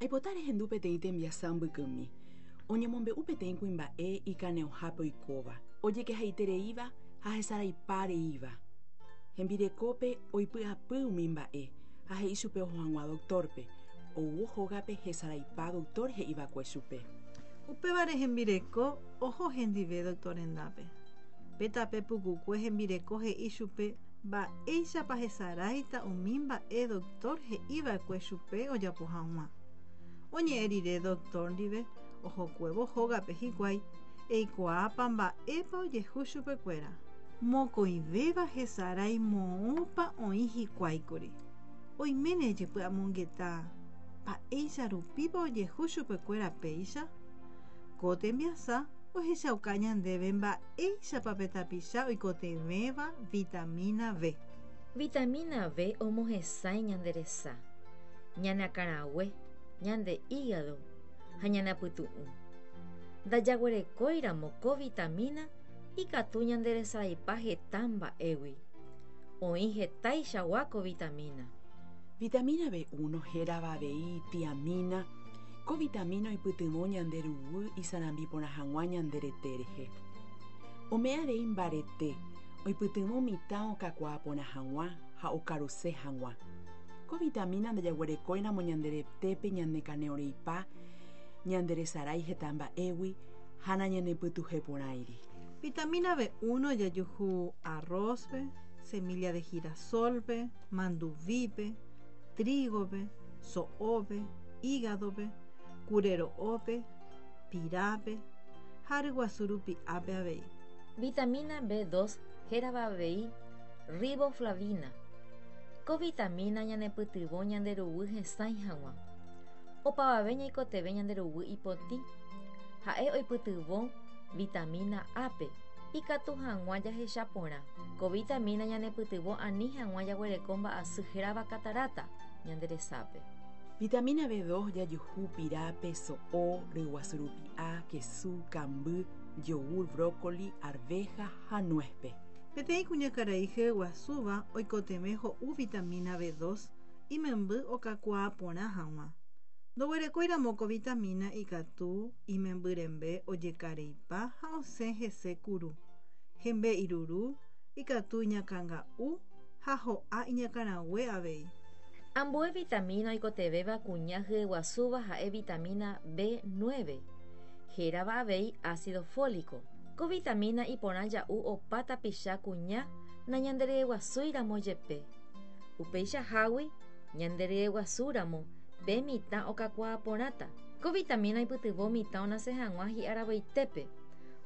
Aipota rehendu peteĩ tembiasa mbykymi. Oñemombe'u peteĩ kuimba'e ikane'õhápe oikóva, ojekehaitereíva ha hesaraipa reíva. Hembirekópe oipy'apy umi mba'e ha he'i chupe oho hag̃ua doktórpe. Oúvo hógape hesaraipa doktór he'iva'ekue chupe. Upévare hembireko oho hendive doktór rendápe. Pe tape pukukue hembireko he'i chupe mba'éichapa hesaráita umi mba'e doktór he'iva'ekue chupe ojapo hag̃ua. Oñe'ẽ rire doktór ndive, ohokuévo hógape hikuái, eikuaápa mba'épa ojehu chupekuéra. Mokõivéva hesarái moõpa oĩ hikuáikuri. Oiméne ejepy'amongeta mba'éicha rupípa ojehu chupekuéra péicha? Ko tembiasa ohechauka ñandéve mba'éichapa pe tapicha oikotevẽva vitamína B. Vitamína B omohesãi ñande resa, ñane akãrague, ñande hígado ha ñane apytu'ũ. Ndajaguerekóiramo ko vitamína ikatu ñanderesaraipa heta mba'égui. Oĩ hetaichagua ko vitamína. Vitamína B1 hérava avei tiamína, ko vitamína oipytyvõ ñande ruguy isarambi porã hag̃ua ñande rete rehe. Ome'ẽ avei mbarete, oipytyvõ mitã okakuaa porã hag̃ua ha okaruse hag̃ua. Ko vitamína ndajaguerekóiramo ñande retépe ñanekane'õreipa, ñanderesarái heta mba'égui ha nañanepytuhẽporãiri. Vitamína B1 jajuhu arroz-pe, semilla de girasol-pe, manduvípe, trigo-pe, so'ópe, hígado-pe, kure ro'ópe, pirápe ha ryguasu rupi'ápe avei. Vitamína B2 hérava avei riboflavina. Ko vitamína ñanepytyvõ ñande ruguy hesãi hag̃ua. Opavave ñaikotevẽ ñande ruguy ipotĩ. Ha'e oipytyvõ vitamína A-pe ikatu hag̃ua jahecha porã. Ko vitamína ñanepytyvõ ani hag̃ua jaguereko mba'asy hérava kataráta ñande resápe. Vitamína B2 jajuhu pirápe, so'o, ryguasu rupi'a, kesu, kamby, yogur, brócoli, arveja ha nuez-pe. Peteĩ kuñakarai hyeguasúva oikotevẽ ho'u vitamína B2 imemby okakuaa porã hag̃ua. Ndoguerekóiramo ko vitamína ikatu imemby rembe ojekareipa ha osẽ hese kuru. Hembe iruru, ikatu iñakãnga'u ha ho'a iñakãrague avei. Ambue vitamína oikotevẽva kuña hyeguasúva ha'e vitamína B9, hérava avei ácido fólico. Ko vitamína iporã ja'u opa tapicha kuña nañanderyeguasúiramo jepe. Upeichahágui ñanderyeguasúramo pe mitã okakuaa porãta. Ko vitamína oipytyvõ mitã onase hag̃ua hi'aravoitépe.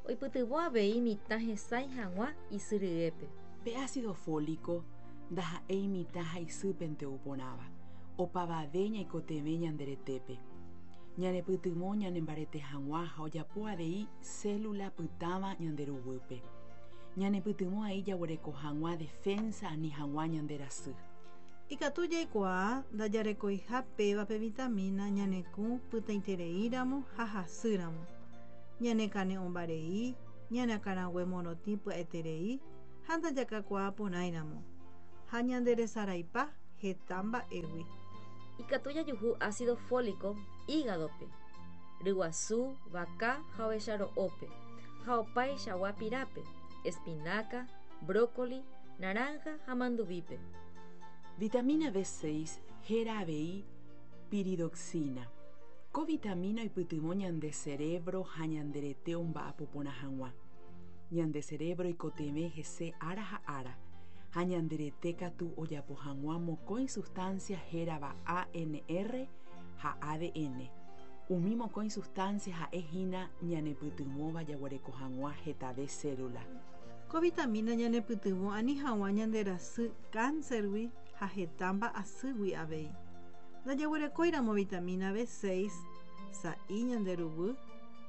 Oipytyvõ avei mitã hesãi hag̃ua isy ryépe. Pe ácido fólico ndaha'éi mitã ha isýpente ou porãva, opavave ñaikotevẽ ñande retépe. Ñanepytyvõ ñanembarete hag̃ua ha ojapo avei célula pytãva ñande ruguýpe. Ñanepytyvõ ai jaguereko hag̃ua defensa ani hag̃ua ñande rasy. Ikatu jaikuaa ndajarekoiha péva pe vitamína ñanekũ pytãitereíramo ha hasýramo. Ñanekane'õmbarei, ñane akãrague morotĩ pya'eterei ha ndajakakuaa porãiramo. Ha ñanderesaraipa heta mba'égui. Ikatu jajuhu ácido fólico hígado-pe, ryguasu, vaka ha ovecha ro'ópe, ha opaichagua pirápe, espinaca, brócoli, naranja ha manduvípe. Vitamína B6 héra avei piridoxina. Ko vitamína oipytyvõ ñande cerebro ha ñande rete omba'apo porã hag̃ua. Ñande cerebro oikotevẽ hese ára ha ára, ha ñande rete katu ojapo hag̃ua mokõi sustancia hérava ANR ha ADN. Umi mokõi sustancia ha'e hína ñanepytyvõva jaguereko hag̃ua hetave célula. Ko vitamína ñanepytyvõ ani hag̃ua ñanderasy cáncer-gui ha heta mba'asýgui avei. Ndajaguerekóiramo vitamína B6 sa'i ñande ruguy,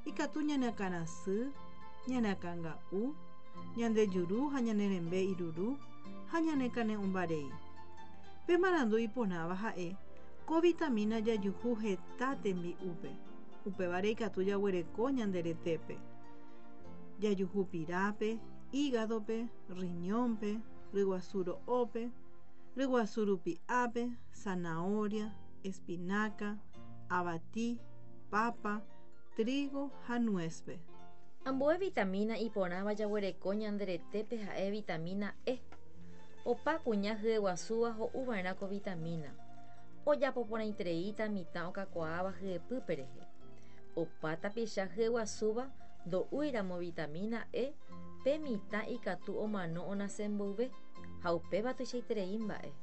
ikatu ñane akãrasy, ñane akãnga'u, ñande juru ha ñane rembe iruru ha ñane kane'õmbarei. Pe marandu iporãva ha'e ko vitamína jajuhu heta tembi'úpe, upévare ikatu jaguereko ñande retépe. Jajuhu pirápe, hígado-pe, riñón-pe, ryguasu ro'ópe, ryguasu rupi'ápe, zanahoria, espinaca, Avati, papa, trigo ha nuez-pe. Ambue vitamina iporãva jaguereko ñande retépe ha'e vitamina E. Opa kuña hyeguasúva ho'uva'erã ko vitamina. Ojapo porãitereíta mitã okakuaáva hyepýpe rehe. Opa tapicha hyeguasúva ndo'úiramo vitamina E pe mitã ikatu omano onase mboyve, ha upéva tuichaiterei mba'e.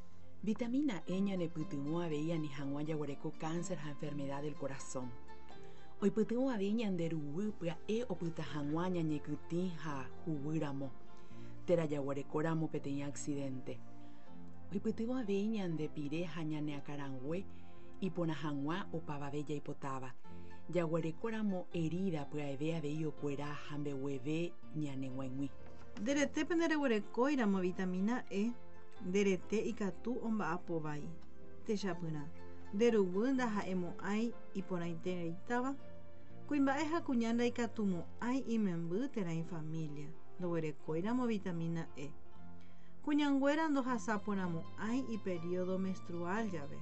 Vitamina E ñanepytyvõ avei ani hag̃ua jaguereko cáncer ha enfermedad del corazón. Oipytyvõ avei ñande ruguy pya'e opyta hag̃ua ñañekytĩ ha huguýramo, térã jaguerekóramo peteĩ accidente. Oipytyvõ avei ñande pire ha ñane akãrangue iporã hag̃ua opavave jaipotáva. Jaguerekóramo herida pya'eve avei okuera ha mbegueve ñane g̃uaig̃ui. Nde retépe ndereguerekóiramo vitamina E, nde rete ikatu omba'apo vai. Techapyrã, nde ruguy ndaha'emo'ãi iporãitereítava, kuimba'e ha kuña ndaikatumo'ãi imemby térã ifamília, ndoguerekóiramo vitamina E. Kuñanguéra ndohasaporãmo'ãi iperiodo menstrual jave.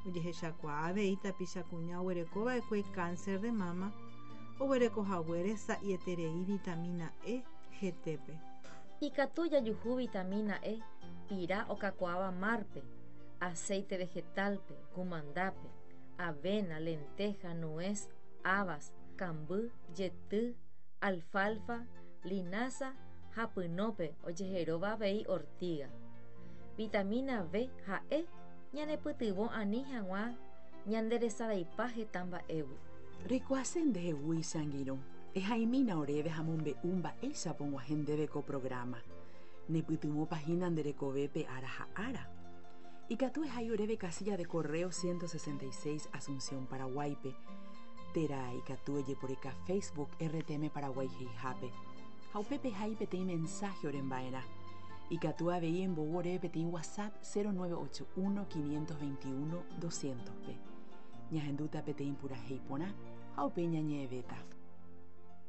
Ojehechakuaa avei tapicha kuña oguerekova'ekue cáncer de mama, oguerekohaguére sa'ieterei vitamina E hetépe. Ikatu jajuhu vitamina E pira okakuaáva mar-pe, aceite vegetal-pe, kumandápe, avena, lenteja, nuez, habas, kamby, jety, alfalfa, linaza ha pynópe ojeheróva avei ortiga. Vitamina B ha E ñanepytyvõ ani hag̃ua ñanderesaraipa heta mba'égui. Reikuaase ndehegui che angirũ, ehaimína oréve ha mombe'u mba'éichapa og̃uahẽ ndéve ko programa. Nepytyvõpa hína nde rekovépe ára ha ára? Ikatu ehai oréve casilla de correo 166 Asunción, Paraguáipe, térã ikatu ejeporeka Facebook RTM Paraguay he'ihápe ha upépe ehai peteĩ mensaje oremba'erã. Ikatu avei embou oréve peteĩ WhatsApp 0981 521 200-pe. Ñahendúta peteĩ purahéi porã ha upéi ñañe'ẽvéta.